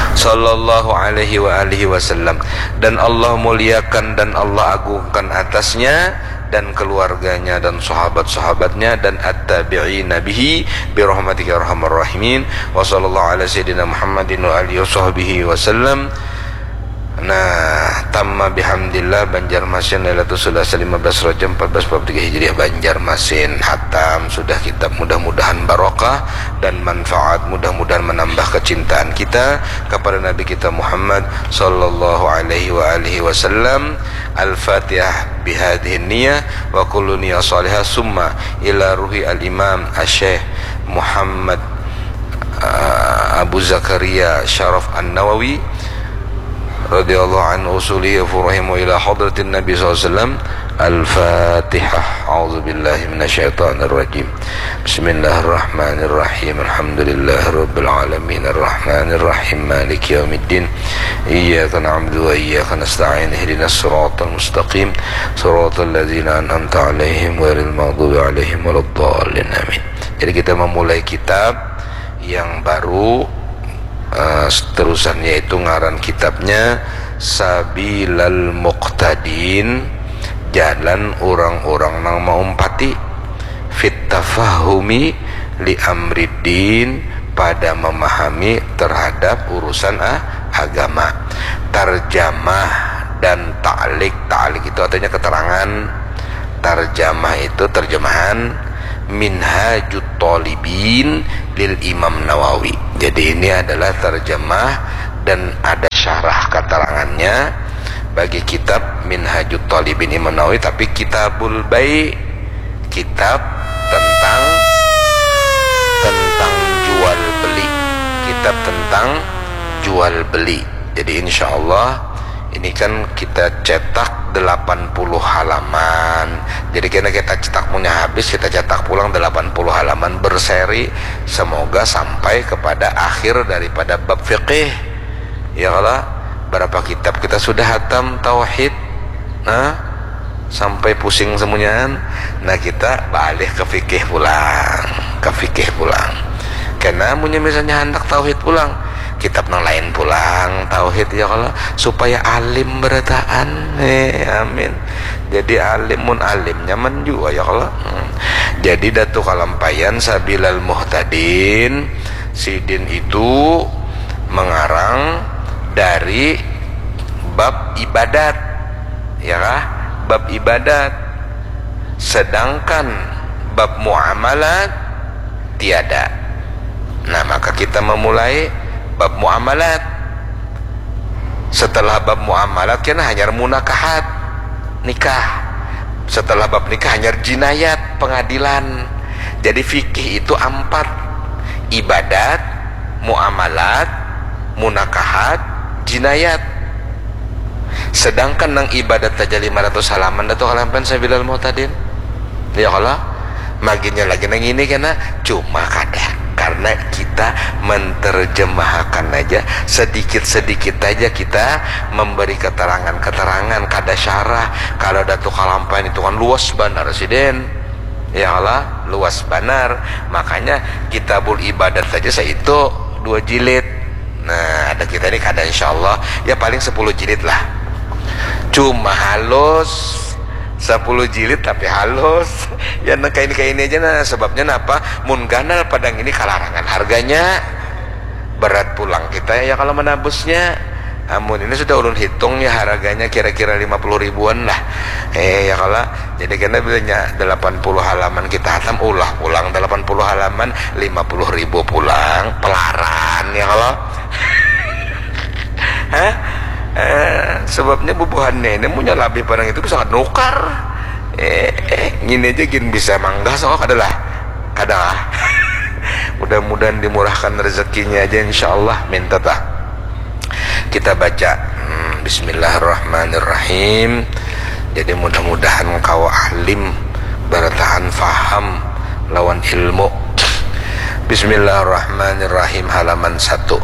Sallallahu alaihi wa alihi wasallam. Dan Allah muliakan dan Allah agungkan atasnya dan keluarganya dan sahabat-sahabatnya dan at-tabi'ina bihi birahmatika ya arhamar rahimin. Wa sallallahu ala sayyidina Muhammadin wa alihi wa sahbihi wasallam. Nah, tamma bihamdillah Banjarmasin Lailatul Sulasa lima belas Rajab empat belas empat puluh tiga Hijriah Banjarmasin hatam sudah kitab, mudah-mudahan barokah dan manfaat, mudah-mudahan menambah kecintaan kita kepada Nabi kita Muhammad sallallahu alaihi wa alihi wasallam. Al-Fatihah bihadhihi niyah wa kullu niyah salihah summa ila ruhi al-imam asy-syekh Muhammad, uh, Abu Zakaria Syaraf An-Nawawi radhiyallahu anhu usulihi wa furuhi wa ila hadratin Nabi sallallahu alaihi wasallam. Al-Fatihah. A'udzu billahi minasyaitonir rajim. Bismillahirrahmanirrahim. Alhamdulillahirabbil alamin. Arrahmanirrahim. Maliki yaumiddin. Iyyaka na'budu wa iyyaka nasta'in. Ihdinas siratal mustaqim. Siratal ladzina an'amta 'alaihim ghairil maghdubi 'alaihim waladdallin. Amin. Jadi kita memulai kitab yang baru, eh, seterusan, yaitu ngaran kitabnya Sabilal Muqtadin, jalan orang-orang nang maumpati, fit tafahumi li amriddin, pada memahami terhadap urusan, ah, agama. Tarjamah dan ta'lik. Ta'lik itu artinya keterangan. Tarjamah itu terjemahan Minhajut Thalibin lil Imam Nawawi. Jadi ini adalah terjemah dan ada syarah keterangannya bagi kitab Minhajut Thalibin Imam Nawawi, tapi Kitabul Bai, kitab tentang tentang jual beli, kitab tentang jual beli. Jadi insya Allah ini kan kita cetak delapan puluh halaman. Jadi kena kita cetak punya habis, kita cetak pulang delapan puluh halaman berseri. Semoga sampai kepada akhir daripada bab fikih. Ya kalau berapa kitab kita sudah hatam tauhid, nah sampai pusing semuanya. Nah kita balik ke fikih pulang, ke fikih pulang. Kena punya misalnya hendak tauhid pulang, kitab nang lain pulang tauhid ya kalau supaya alim berataan. Eh, amin. Jadi alim mun alim nyaman juga ya kalau. Hmm. Jadi Datu Kalampayan Sabilal Muhtadin sidin itu mengarang dari bab ibadat, ya kah? Bab ibadat. Sedangkan bab muamalat tiada. Nah, maka kita memulai bab muamalat. Setelah bab muamalat kan hanyar munakahat, nikah. Setelah bab nikah hanyar jinayat, pengadilan. Jadi fikih itu ampat, ibadat, muamalat, munakahat, jinayat. Sedangkan nang ibadat saja lima ratus halaman Datu Kalampayan Sabilal Muhtadin. Ya kalau maginnya lagi nang ini kena cuma kada, karena kita menterjemahkan aja sedikit-sedikit aja, kita memberi keterangan-keterangan, kada syarah. Kalau Datu Kalampayan itu kan luas banar sih den. Ya Allah, luas banar. Makanya Kitabul Ibadat saja saitu dua jilid. Nah, ada kita ini kada insya Allah. Ya paling sepuluh jilid lah. Cuma halus, sepuluh jilid tapi halus. Ya nang kaini-kaini aja nah. Sebabnya napa? Mun ganal padang ini kalarangan harganya. Berat pulang kita ya kalau menabusnya. Amun ini sudah ulun hitung ya harganya kira-kira lima puluh ribuan lah. Eh ya kalau jadi kena bilanya delapan puluh halaman kita hatam, ulah pulang delapan puluh halaman, lima puluh ribu pulang, pelaran ya kalau. Hah? Eh, sebabnya bubuhannya ini punya labih barang itu bisa nukar. Eh, eh, gini aja gin bisa manggah so kada lah. Kada lah. Mudah-mudahan dimurahkan rezekinya aja insya Allah minta tah. Kita baca hmm, Bismillahirrahmanirrahim. Jadi mudah-mudahan kawa alim, bertahan faham lawan ilmu. Bismillahirrahmanirrahim, halaman satu.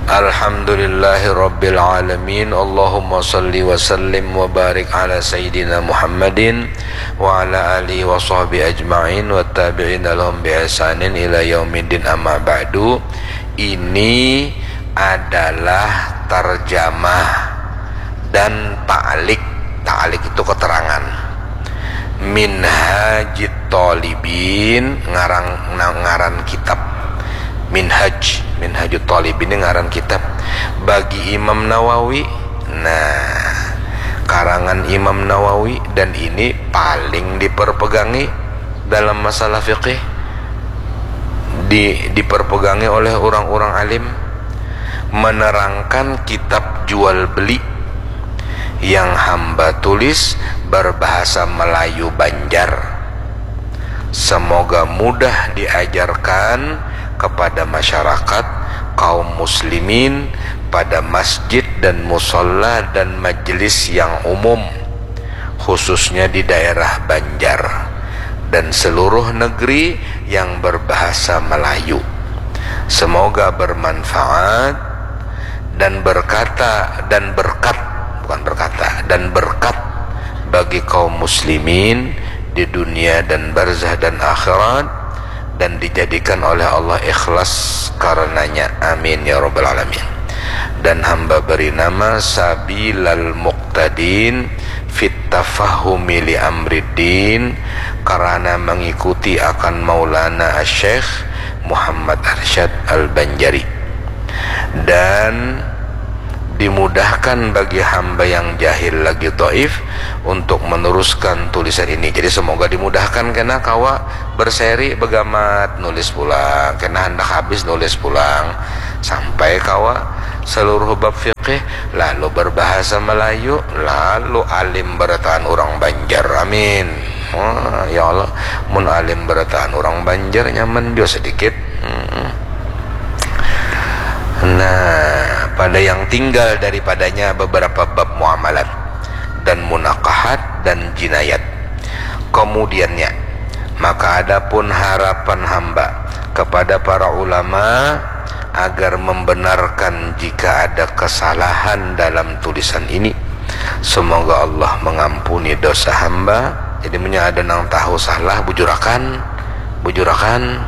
Alhamdulillahirabbil alamin. Allahumma salli wa sallim wa barik ala sayyidina Muhammadin wa ala alihi wa sahbihi ajma'in wa tabi'in lahum bi ihsanin ila yaumiddin, amma ba'du. Ini adalah tarjamah dan ta'lik. Ta'lik itu keterangan. Minhajit Thalibin, ngarang ngaran kitab. Minhaj, Minhajut Thalibin ini ngaran kitab bagi Imam Nawawi. Nah, karangan Imam Nawawi dan ini paling diperpegangi dalam masalah fikih, di, diperpegangi oleh orang-orang alim, menerangkan kitab jual beli yang hamba tulis berbahasa Melayu Banjar. Semoga mudah diajarkan kepada masyarakat kaum muslimin pada masjid dan musalla dan majelis yang umum, khususnya di daerah Banjar dan seluruh negeri yang berbahasa Melayu. Semoga bermanfaat dan berkata dan berkat, bukan berkata, dan berkat bagi kaum muslimin di dunia dan barzah dan akhirat, dan dijadikan oleh Allah ikhlas karenanya. Amin ya rabbal alamin. Dan hamba beri nama Sabilal Muqtadin fit tafahumi li amriddin, karena mengikuti akan Maulana Syekh Muhammad Arsyad Al-Banjari. Dan Dimudahkan bagi hamba yang jahil lagi dhaif untuk meneruskan tulisan ini. Jadi semoga dimudahkan kena kawa berseri, begamat, nulis pulang, kena handak habis nulis pulang sampai kawa seluruh bab fikih, lalu berbahasa Melayu, lalu alim berataan orang Banjar. Amin. Wah, ya Allah, mun alim berataan orang Banjar nyaman jua sedikit. Hmm. Nah, pada yang tinggal daripadanya beberapa bab muamalat dan munakahat dan jinayat. Kemudiannya, maka adapun harapan hamba kepada para ulama agar membenarkan jika ada kesalahan dalam tulisan ini. Semoga Allah mengampuni dosa hamba. Jadi, munnya ada nang tahu salah, bujurakan, bujurakan.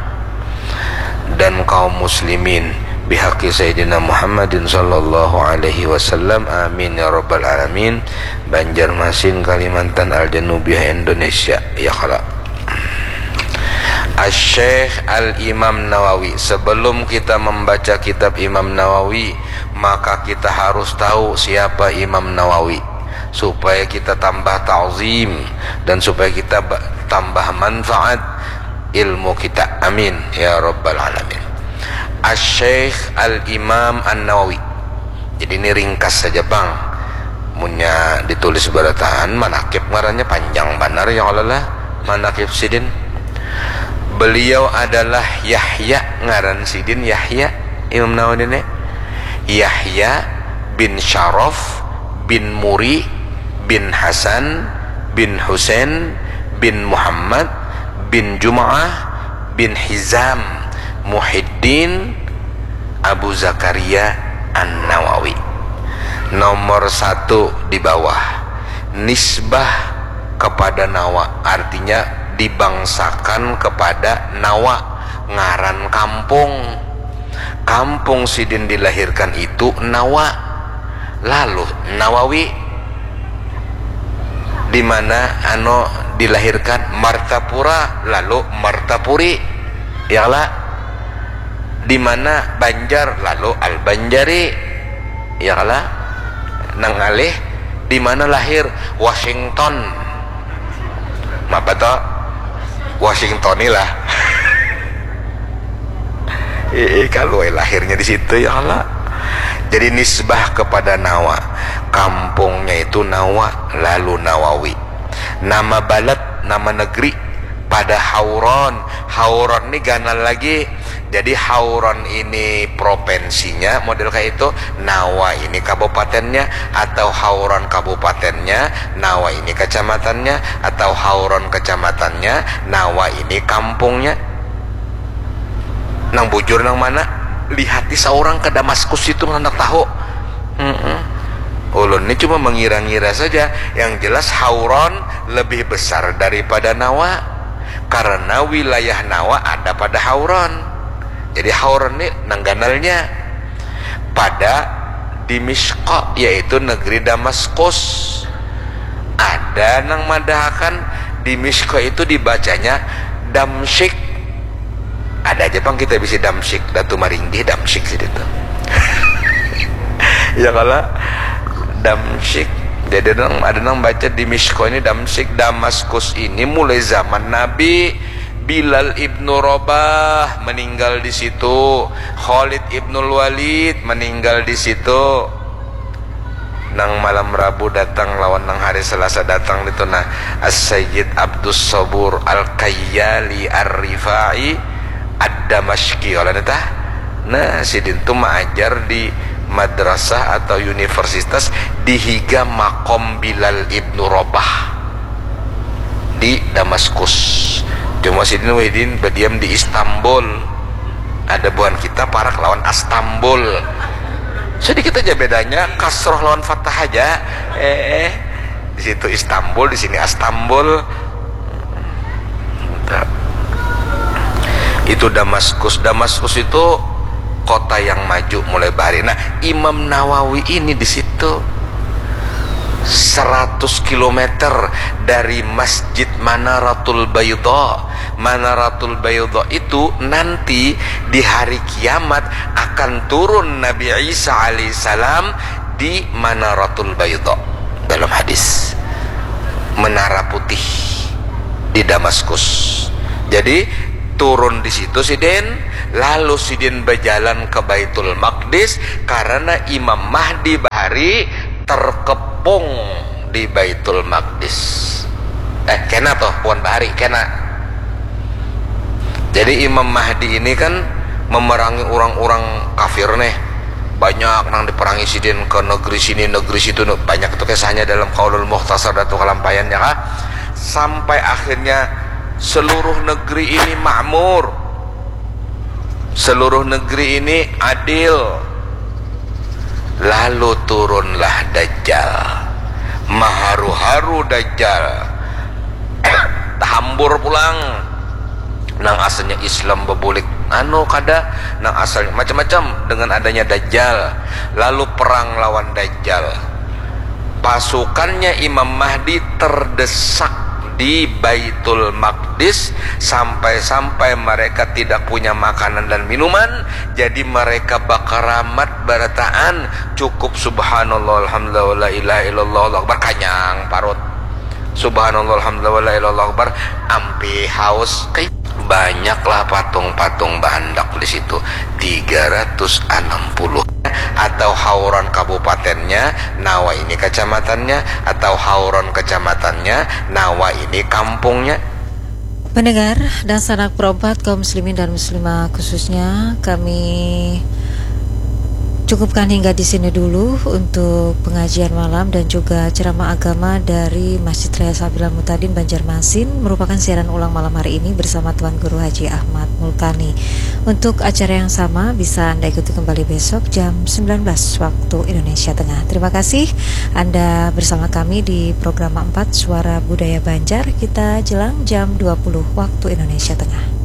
Dan kaum muslimin, bihaqi Sayyidina Muhammadin sallallahu alaihi wasallam. Amin ya rabbal alamin. Banjarmasin, Kalimantan, Al-Janubiyah, Indonesia. Ya kala. Asy-Syaikh Al-Imam Nawawi. Sebelum kita membaca kitab Imam Nawawi, maka kita harus tahu siapa Imam Nawawi, supaya kita tambah ta'zim dan supaya kita ba-, tambah manfaat ilmu kita. Amin ya rabbal alamin. Asy-Syaikh Al-Imam An-Nawawi. Jadi, ini ringkas saja, pang. Munnya ditulis berataan, manakib ngarannya panjang banar, ya Allah lah, manakib sidin. Beliau adalah Yahya, ngaran sidin Yahya, Imam Nawawi ini. Yahya bin Syaraf bin Muri bin Hasan bin Husain bin Muhammad bin Jum'ah bin Hizam Muhiddin Abu Zakaria An-Nawawi. Nomor satu di bawah, nisbah kepada Nawa, artinya dibangsakan kepada Nawa, ngaran kampung. Kampung sidin dilahirkan itu Nawa, lalu Nawawi. Di mana anu dilahirkan? Martapura, lalu Martapuri. Ya kala? Di mana Banjar, lalu Al-Banjari. Ya kala? Nang ngalih, di mana lahir? Washington. Mapa to? Washington ni lah. Ih, kalau lahirnya di situ, ya Allah. Jadi, nisbah kepada Nawa. Kampungnya itu Nawa, lalu Nawawi. Nama balad, nama negeri pada Hauron. Hauron ni ganal lagi. Jadi, Hauron ini provinsinya model kayak itu, Nawa ini kabupatennya, atau Hauron kabupatennya, Nawa ini kecamatannya, atau Hauron kecamatannya, Nawa ini kampungnya. Nang bujur nang mana? Lihati saurang ke Damaskus itu, handak tahu. Mm-mm. Ulun ni cuma mengira-ngira saja. Yang jelas, Hauron lebih besar daripada Nawa, karena wilayah Nawa ada pada Hauron. Jadi, Hauron ni nang ganalnya. Pada Dimishqa, yaitu negeri Damaskus. Ada nang madahakan Dimishqa itu dibacanya Damsyik. Ada aja pang kita bisi Damsyik, Datu Maringgih Damsyik sih itu. Ya kala? Damsyik. Jadi, nang, ada nang baca Dimishqa ini Damsyik. Damaskus ini mulai zaman Nabi, Bilal ibnu Rabah meninggal di situ, Khalid ibnul Walid meninggal di situ. Nang malam Rabu datang lawan nang hari Selasa datang itu, nah, As-Sayyid Abdus Sabur Al-Kayyali Ar-Rifai Ad-Damashqi, oleh tah. Nah, sidin tu maajar di madrasah atau universitas di higa makom Bilal ibnu Rabah di Damaskus. Cuma sidin wahidin berdiam di Istanbul. Ada buhan kita parak lawan Astambul. Sedikit aja bedanya, kasroh lawan fathah aja. Eh, di situ Istanbul, di sini Astambul. Itu Damaskus. Damaskus itu kota yang maju mulai bahari. Nah, Imam Nawawi ini di situ, seratus kilometer dari Masjid Manaratul Baydha. Manaratul Baydha itu nanti di hari kiamat akan turun Nabi Isa alaihissalam di Manaratul Baidha dalam hadis, menara putih di Damaskus. Jadi turun di situ sidin, lalu sidin berjalan ke Baitul Maqdis karena Imam Mahdi bahari terkepung di Baitul Maqdis. Eh, kena toh, bukan bahari, kena. Jadi Imam Mahdi ini kan memerangi orang-orang kafir nih. Banyak nang diperangi sidin ke negeri sini, negeri situ. Banyak itu kisahnya dalam Qaulul Mukhtasar Datu Kalampayan ya kah. Sampai akhirnya seluruh negeri ini makmur. Seluruh negeri ini adil. Lalu turunlah Dajjal. Maharu-haru Dajjal. Tahambur pulang. Nang asalnya Islam bebulik anu kada, nang asalnya macam-macam dengan adanya Dajjal. Lalu perang lawan Dajjal. Pasukannya Imam Mahdi terdesak di Baitul Maqdis sampai-sampai mereka tidak punya makanan dan minuman, jadi mereka bakaramat barataan, cukup subhanallah alhamdulillah wala ilaha illallah Allahu akbar, kanyang parut. Subhanallah alhamdulillah wala ilaha illallah Allahu akbar, ampih haus. Banyaklah patung-patung bahandak di situ, tiga ratus enam puluh. Atau hauran kabupatennya, nawa ini kecamatannya, atau hauran kecamatannya, nawa ini kampungnya. Pendengar dan sanak perempat kaum muslimin dan muslimah khususnya, kami cukupkan hingga di sini dulu untuk pengajian malam dan juga ceramah agama dari Masjid Raya Sabilal Mutadin Banjarmasin, merupakan siaran ulang malam hari ini bersama Tuan Guru Haji Ahmad Mulkani. Untuk acara yang sama bisa Anda ikuti kembali besok jam sembilan belas waktu Indonesia Tengah. Terima kasih Anda bersama kami di program empat Suara Budaya Banjar. Kita jelang jam dua puluh waktu Indonesia Tengah.